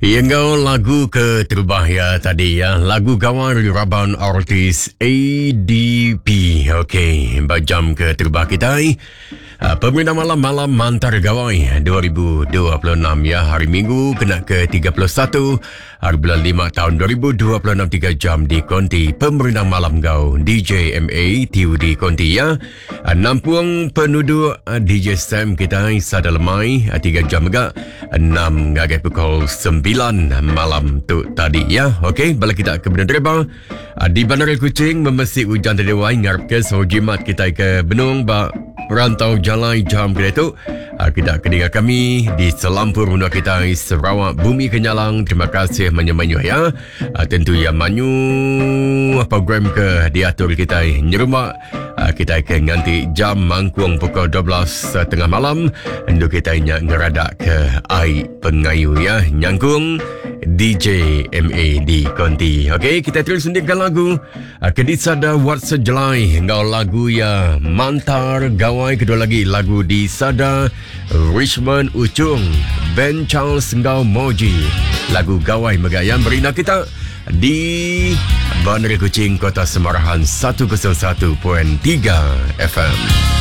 Iya enggau lagu ke terubah ya tadi ya, lagu Gawai Raban Artis ADP. Okey, ba jam ke terubah kitai. Ah, Pemerintah malam malam Mantar Gawai 2026 ya hari Minggu kena ke 31 hari bulan 5 tahun 2026 3 jam di konti Pemerintah malam gau DJ MA TUD konti ya. Ah, nampung penuduk ah, DJ Sam kita sada lemai 3 ah, jam mega 6 ngagai pukul 9 malam tu tadi ya. Okey, bala kita ke benung dereba di Bandar Kuching memesi hujan tadi wai ngarap ke so jimat kita ke benung ba rantau jalai jam kita tu. Kita kedengar kami di selampur menua kita Sarawak Bumi Kenyalang. Terima kasih menyemanyuh ya. Tentu ya manyu program ke diatur kita nyerumba Ah, kita ke nganti jam mangkung pukul 12 tengah malam endu kita nya ngeradak ke ai pengayu ya nyangkung DJ MA di Konti. Okey, kita terus sendirikan lagu ah, ke disada Wat Sejelai enggau lagu ya Mantar Gawai kedua lagi lagu di Sada Richmond Uchung Ben Charles enggau Moji lagu Gawai mega yang berina kita di Bandar Kuching, Kota Semarahan 101.3 FM.